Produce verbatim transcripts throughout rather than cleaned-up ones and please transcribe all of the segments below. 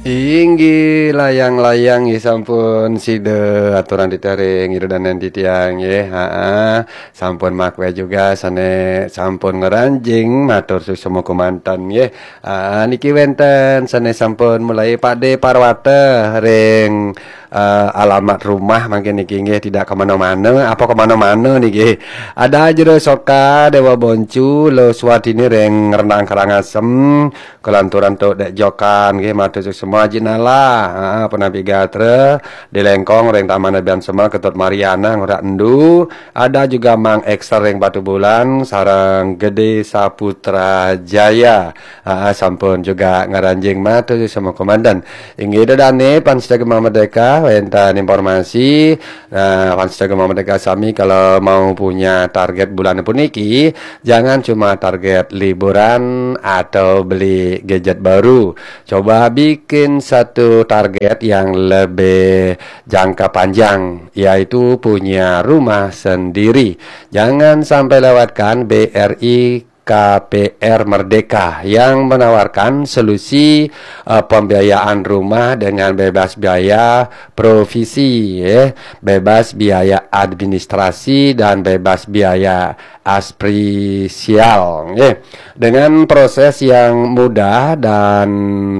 Inggih, layang-layang nggih sampun sida aturang titiang ring ida dané titiang nggih. Haa, sampun makué juga sané sampun ngranjing matur suksma kémanten nggih. Haa, niki wénten sané sampun mulai Pak Dé Parwata ring eh, alamat rumah mangkin niki nggih, tidak kemana-mana, apa kemana-mana niki. Ada Jero Soka, Déwa Boncu, Lo Suwatini ring Rendang Karangasem, kelanturan Tuk Dék Jokan nggih, matur suksma Jinala, ah, Penapi Gatra, Di Lengkong ring Taman Abian Sema, Ketut Mariana, Ngurah Endu, ada juga Mang Excel ring Batubulan, sareng Gedé Saputra Jaya. Ah, sampun juga ngranjing matur suksma kémanten. Inggih ida dané pamiarsa Gema Merdeka, wénten informasi, nah, pamiarsa Gema Merdeka sami kalau mau punya target bulan puniki, jangan cuma target liburan atau beli gadget baru. Coba bikin satu target yang lebih jangka panjang, yaitu punya rumah sendiri. Jangan sampai lewatkan B R I K P R Merdeka yang menawarkan solusi, eh, pembiayaan rumah dengan bebas biaya provisi, ya, bebas biaya administrasi dan bebas biaya asprisial, ya. Dengan proses yang mudah dan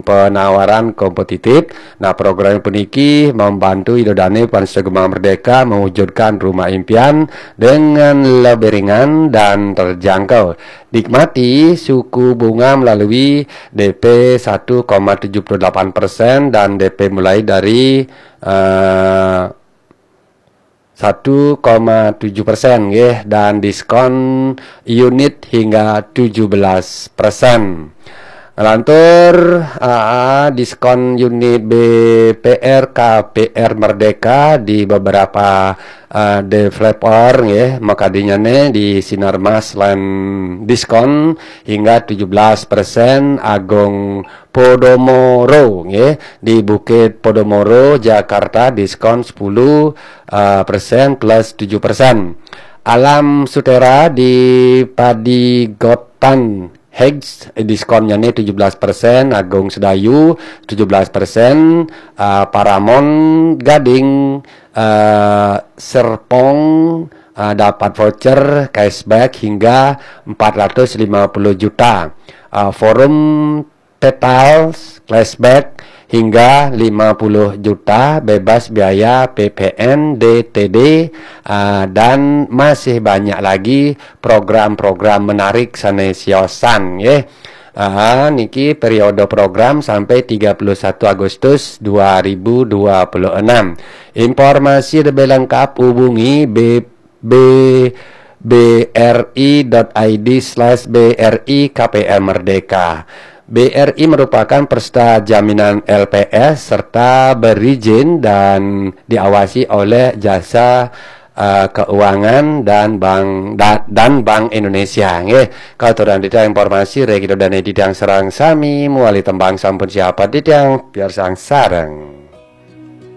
penawaran kompetitif, nah, program puniki membantu ida dané pamiarsa Gema Merdeka mewujudkan rumah impian dengan lebih ringan dan terjangkau. Nikmati suku bunga melalui D P satu koma tujuh puluh delapan persen dan D P mulai dari, eh, satu koma tujuh persen nggih, dan diskon unit hingga tujuh belas persen. Ngelantur, ah, diskon unit B P R K P R Merdeka di beberapa, ah, developer nggih, makadinyané di Sinarmas lan diskon hingga tujuh belas persen, Agung Podomoro nggih, di Bukit Podomoro, Jakarta, diskon sepuluh, ah, persen plus tujuh persen. Alam Sutera di Padigotan Heights, diskonnya nih tujuh belas persen, Agung Sedayu tujuh belas persen, ah, Paramount Gading, ah, Serpong, ah, dapat voucher cashback hingga empat ratus lima puluh juta. Ah, Forum Petals cashback hingga lima puluh juta, bebas biaya P P N, D T D, ah, dan masih banyak lagi program-program menarik sané siosan, nggih. Ah, niki periode program sampai tiga puluh satu Agustus dua ribu dua puluh enam. Informasi lebih lengkap hubungi B, B, B R I dot I D slash B R I K P R Merdeka. B R I merupakan peserta jaminan L P S serta berizin dan diawasi oleh Jasa, eh, Keuangan dan Bank, da-, dan Bank Indonesia. Nggih, katurang titiang informasi ring ida dané titiang sareng sami, mawali tembang sampun siap titiang piarsang sareng.